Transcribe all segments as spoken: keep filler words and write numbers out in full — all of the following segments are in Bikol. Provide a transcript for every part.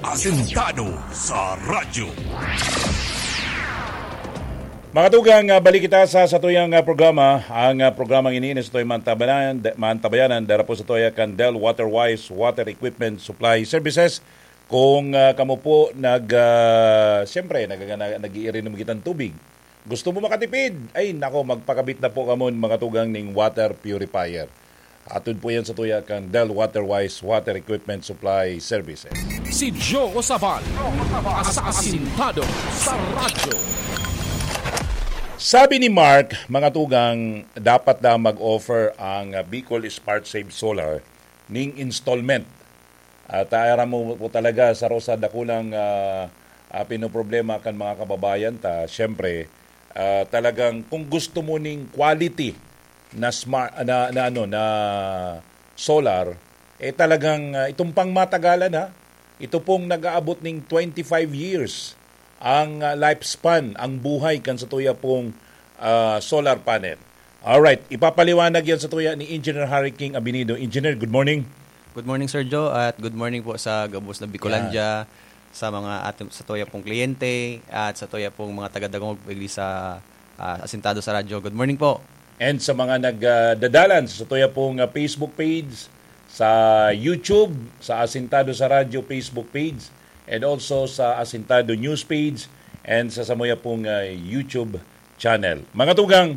Asentado sa radyo. Mga tugang, ah, balik kita sa satuyang, ah, programa. Ang, ah, programang ini na satoy mantabayanan, da-, mantabayanan, dara po sa tuya kan Del Waterwise Water Equipment Supply Services. Kung, ah, kamo po nag, ah, siyempre, nag-, nag-, nag-iirinom kitang tubig, gusto mo makatipid? Ay, nako, magpakabit na po kamo, mga tugang, ning water purifier. Atod po yan sa tuya kan Del Waterwise Water Equipment Supply Services. Si Joe Sabal, asasintado sa radyo. Sabi ni Mark, mga tugang, dapat na mag-offer ang, ah, Bicol Smart Save Solar ning installment. At, ah, aram mo po talaga, sa rosa dakulang, ah, ah, pinoproblema kan mga kababayan ta, siyempre, ah, talagang kung gusto mo ning quality na smart, na, na ano, na solar, eh, talagang, ah, itong pangmatagalan, ha? Ito pong nag-aabot ning twenty-five years ang, ah, lifespan, ang buhay kan satuya pong, ah, solar panel. Alright, ipapaliwanag yan sa tuya ni Engineer Harry King Abinido. Engineer, good morning. Good morning, Sir Joe, at good morning po sa gabos na Bicolandia, sa mga ating, sa tuya pong kliyente, at sa tuya pong mga taga-Dangog, pwede sa, ah, Asintado sa Radyo. Good morning po. And sa mga nagdadalan sa tuya pong, ah, Facebook page, sa YouTube, sa Asintado sa Radyo Facebook page, and also sa Asintado News page, and sa samuya pong, ah, YouTube channel. Mga tugang,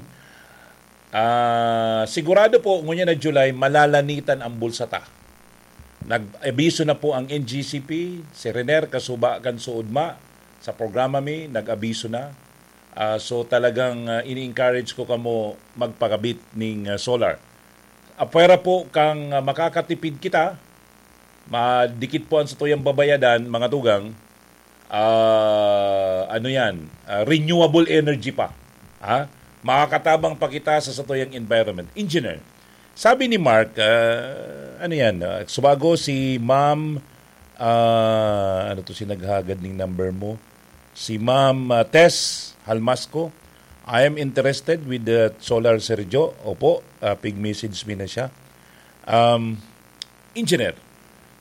ah, sigurado po, ngunyan na July, malalanitan ang bulsa ta. Nag-abiso na po ang N G C P, si Rener, kasuba kan suod ma, sa programa mi, nag-abiso na. Ah, so, talagang, ah, ini-encourage ko kamo magpakabit ning, ah, solar. Apwera po kang, ah, makakatipid kita, madikit po ang satuyang babayadan, mga tugang, ah, ano yan, ah, renewable energy pa. Ha? Makakatabang pa kita sa satuyang environment. Engineer, sabi ni Mark, ah, ano yan, ah, subago si Ma'am, ah, ano to, si naghagad ning number mo? Si Ma'am, ah, Tess Halmasco, "I am interested with the solar, Sir Joe." Opo, ah, pig-message mi na siya. Um, Engineer,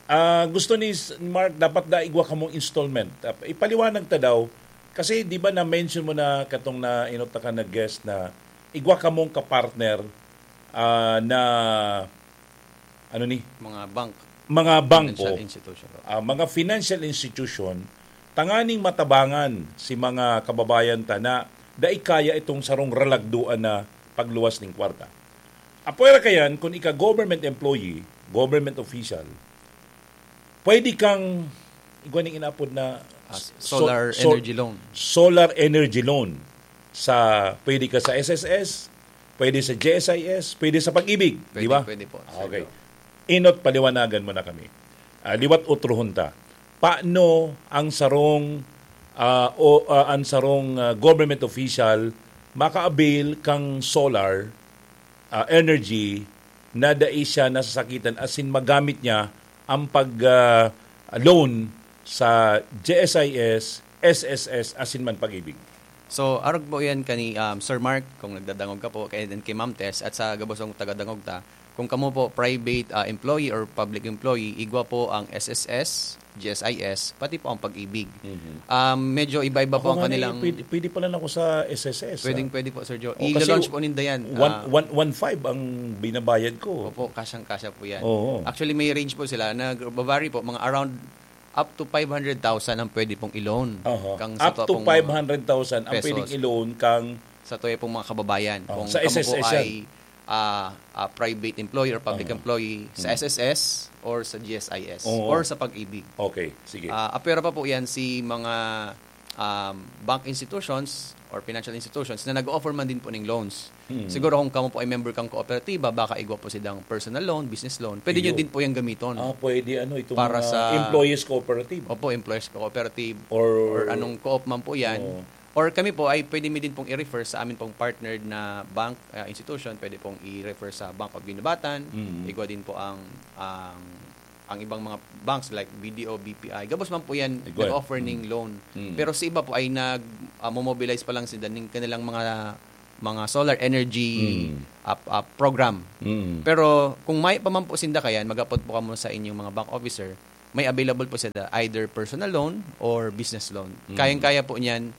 ah, gusto ni S-, Mark, dapat da igwa kamong installment. Ah, ipaliwanag ta daw, kasi di ba na-mention mo na katong na inot na ka na guest na igwa kamong kapartner, ah, na, ano ni? Mga bank. Mga bangko. Financial institution. Ah, mga financial institution, tanganing matabangan si mga kababayan ta na dai kaya itong sarong ralagduan na pagluwas ning kwarta. Apwera kayan, kung ika government employee, government official, pwede kang, igwa ning inapod na Ah, s-, so-, solar so-, energy loan. Solar energy loan. Sa, pwede ka sa S S S, pwede sa G S I S, pwede sa Pag-ibig, Pwede, di ba? Pwede po, Sir Okay. Joe. Inot, paliwanagan mo na kami. Ah, liwat otrohon ta. Paano ang sarong, ah, o, ah, ang sarong, ah, government official maka-avail kang solar, ah, energy na dai siya nasasakitan, as in, magamit niya ang pag, ah, loan sa G S I S, S S S, asin man Pag-ibig. So, arog po yan kani, um, Sir Mark, kung nagdadangog ka po, kay, and kay Ma'am Tess, at sa gabos ng taga-dangog ta, kung kamo po private, ah, employee or public employee, igwa po ang S S S, G S I S, pati po ang Pag-ibig. Mhm. Um, medyo iba-iba Ako po ang nga na, kanilang pwede, pwede pala na ako sa S S S, Pwedeng ah. pwede po, Sir Joe. Oh, kasi I-launch po ninda yan. One, Ah, one, one five ang binabayad ko. Opo, kasyang-kasya po yan. Oo. Actually, may range po sila. Nag-vary po, mga around up to five hundred thousand ang pwede pong i-loan. Aha. Kang sa Up to pong mga five hundred thousand ang pwedeng pesos. i-loan kang Sa tuya pong mga kababayan. Oh, Kung sa kamo po S S S yan. ay, ah, ah, private employee or public Aha. employee sa Mm. S S S or sa G S I S Oo. or sa Pag-ibig. Okay, sige. Ah, apwera pa po yan si mga, um, bank institutions or financial institutions na nag-offer man din po ng loans. Mm. Siguro kung kamo po ay member kang kooperatiba, baka igwa po silang personal loan, business loan. Pwede nyo Iyo. din po yung gamiton. Ah, pwede ano, itong Para mga sa employees cooperative. Opo, employees cooperative. Or Or anong co-op man po yan. Oo. Or kami po ay pwede mi din pong i-refer sa amin pong partnered na bank, ah, institution. Pwede pong i-refer sa Bank of Guinabatan. Mm. Igwa din po ang, ang, ang ibang mga banks like B D O, B P I. Gabos man po yan Igwa. nag-offer ning Mm. loan. Mm. Pero sa iba po ay nag, ah, momobilize pa lang sila ning kanilang mga, mga solar energy Mm. ap-, ap-, program. Mm. Pero kung may pa man po sinda kayan, mag-apod po kamo sa inyong mga bank officer. may available po sila, either personal loan or business loan. Mm. Kayang-kaya po niyan.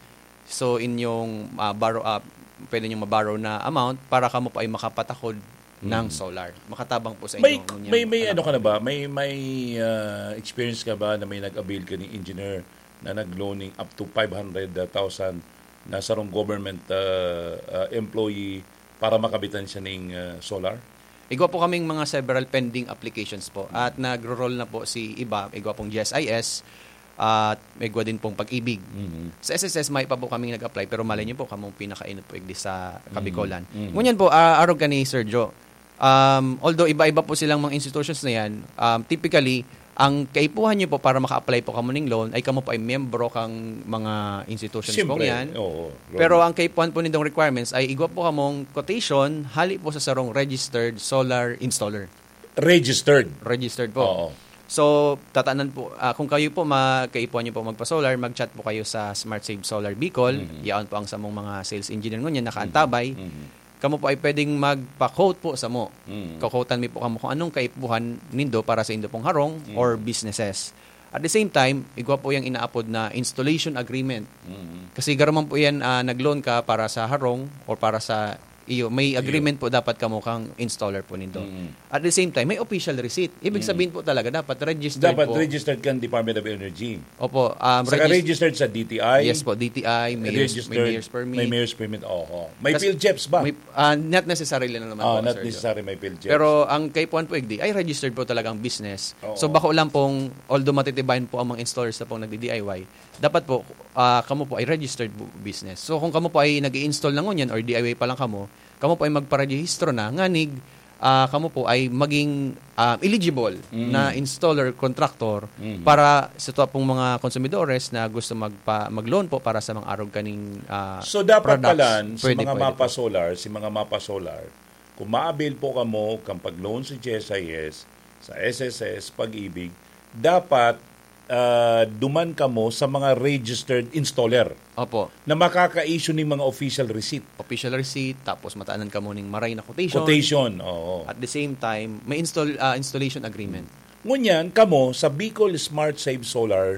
So, inyong, ah, borrow up, pwede niyong ma-borrow na amount para kamo po ay makapatakod ng Mm. solar. Makatabang po sa May, inyo ang may, may inyong ano ka na ba? May, may, ah, experience ka ba na may nag-avail ka ni engineer na nag-loaning up to five hundred thousand na sarong government, ah, ah, employee para makabitan siya ning, ah, solar? Igwa po kaming mga several pending applications po. At nagro-roll na po si iba, igwa pong G S I S, at igwa din pong Pag-ibig. Mhm. Sa S S S, may pa po kaming nag-apply, pero malay niyo po, kamong pinakainot po igdi sa Mhm. Kabikolan. Mhm. Ngunyan po, ah, arog ka ni Sir Joe. Um, although iba-iba po silang mga institutions na yan, um, typically, ang kaipuhan niyo po para maka-apply po kamo ning loan ay kamo po ay miyembro kang mga institutions po Siyempre, yan. oo, Pero Ron. ang kaipuhan po nindong requirements ay igwa po kamong quotation hali po sa sarong registered solar installer. Registered. Registered po. Oo. So, tatanan po, ah, kung kayo po ma-, kaipuhan niyo po magpa-solar, mag-chat po kayo sa Smart Save Solar Bicol. Mhm. Yaon po ang samong mga sales engineer ngunyan, nakaantabay. Mhm. Mhm. Kamo po ay pwedeng magpa-quote po samo. Mhm. Kukutan mi po kamo kung anong kaipuhan nindo para sa indo pong harong Mhm. or businesses. At the same time, igwa po yung inaapod na installation agreement. Mhm. Kasi garo man po yan, ah, nag-loan ka para sa harong or para sa iyo, may Iyo. agreement po dapat kamo kang installer po nindo. Mhm. At the same time, may official receipt. Ibig Mm. sabihin po talaga, dapat registered Dapat po. registered kang Department of Energy. Opo, um, Saka regis- registered sa D T I. Yes po, D T I, mayor's, may Registered, mayor's permit. may mayor's permit, oho. May Kas-, PhilGEPs ba? may, ah, not necessarily na naman Ah, po, not Sir Joe. necessary may PhilGEPs. Pero ang kaipuhan po, igdi, ay registered po talaga ang business. Oo. So, bako lang pong, although matitibayan po ang mga installers na pong nagdi-D I Y, dapat po, ah, kamo po ay registered bu-, business. So, kung kamo po ay nag-i-install na ngunyan or D I Y pa lang kamo, kamo po ay magparehistro na, nganig, ah, kamo po ay maging, ah, eligible Mm. na installer, contractor Mm. para sa tua pong mga konsumidores na gusto magpa-, mag-loan po para sa mga arog kaning, ah, So, dapat products. palan, si Pwede, mga pwede po. Mapa Solar, si mga Mapa Solar, kung ma-avail po kamo kan pag-loan sa G S I S, sa S S S, Pag-ibig, dapat, ah, duman kamo sa mga registered installer Opo. na makaka-issue ning mga official receipt. Official receipt, tapos mataanan kamo ning maray na quotation. Quotation, oo. At the same time, may install, ah, installation agreement. Ngunyan, kamo, sa Bicol Smart Save Solar,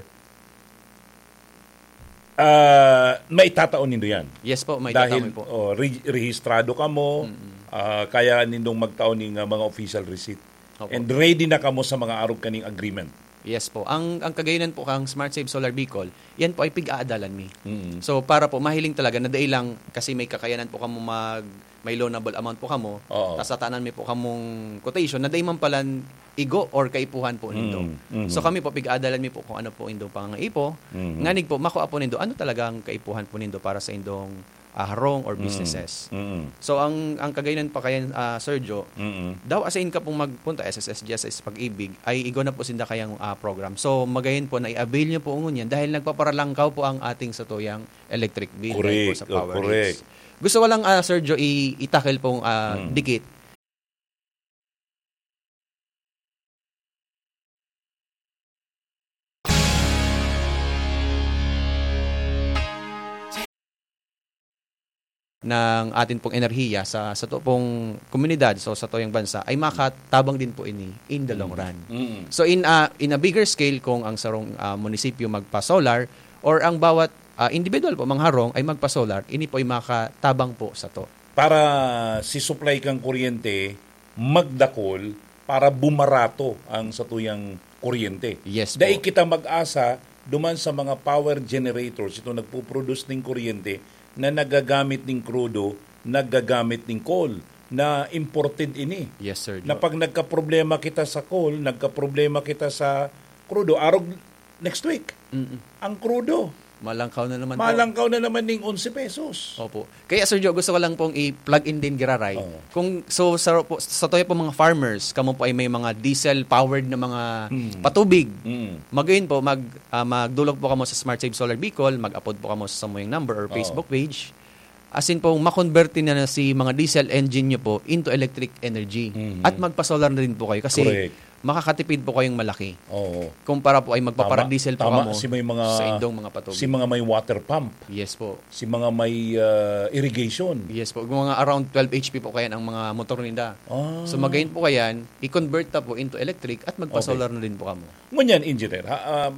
ah, maitatao nindo yan. Yes po, maitatao Dahil, po. oh, re-, rehistrado kamo, Mm-mm. ah, kaya nindong magtao ning, ah, mga official receipt. Opo. And ready na kamo sa mga arog kaning agreement. Yes po. Ang, ang kagayonan po kang Smart Save Solar Bicol, yan po ay pig-aadalan mi. Mm. So, para po, mahiling talaga na dai lang kasi may kakayanan po kamo mag-, may loanable amount po kamo, Oo. tas tatanan mi po kamong quotation na dai man palan igo or kaipuhan po nindo. Mm, mm. So, kami po, pig-aadalan mi po kung ano po indong pangangaipo. Mm. Nganing po, makua po nindo, ano talaga ang kaipuhan po nindo para sa indong, ah, harong or Mm, businesses. mm. So, ang, ang kagayonan pa kayan, ah, Sir Joe, Mm. daw asin ka pong magpunta, S S S, G S S, Pag-ibig, ay igwa na po sinda kayang, ah, program. So, magayon po na i-avail nyo po ngunyan dahil nagpaparalangkaw po ang ating satuyang electric bill dahil po Correct. sa Oh, power correct. rates. Gusto ko lang, ah, Sir Joe, i-, i-tackle pong, ah, Mm. dikit. ng atin pong enerhiya sa, sa to pong komunidad, so sa toyang bansa, ay makatabang din po ini in the long Mm. run. Mm. So in, ah, in a bigger scale, kung ang sarong, ah, munisipyo magpa-solar or ang bawat, ah, individual po, mangharong ay magpa-solar, ini po ay makatabang po sa to. Para si supply kang kuryente magdakol para bumarato ang satuyang kuryente. Yes po. Dai kita mag-asa duman sa mga power generators, ito nagpo-produce ning kuryente na nagagamit ning krudo, nagagamit ning coal na imported ini. Yes, sir. Na pag nagkaproblema kita sa coal, nagkaproblema kita sa krudo, arog next week, Mm-mm. ang krudo. Malangkaw na naman po. Malangkaw na naman ning onse pesos. Opo. Kaya, Sir Joe, gusto ko lang pong i-plug in din, giraray. Oo. Kung, so, sa, po, sa toya po mga farmers, kamo po ay may mga diesel-powered na mga Hmm. patubig. Hmm. Magayon po, mag, ah, magdulog po kamo sa Smart Save Solar Bicol, mag-upload po kamo sa samuyang number or Oo. Facebook page. Asin pong makonberte na, na si mga diesel engine nyo po into electric energy. Mhm. At magpa-solar na din po kayo kasi Correct. makakatipid po kayong malaki. Oo. Kumpara po ay magpaparadiesel po Tama, kamo si may mga sa indong mga patubig. Si mga may water pump, Yes po. si mga may ah, irrigation. Yes po. Mga around twelve H P po kayan ang mga motor ninda. Ah. So magayon po kayan, i-convert ta po into electric at magpa-solar na din po kamo. Ngunyan, engineer, ha, ah,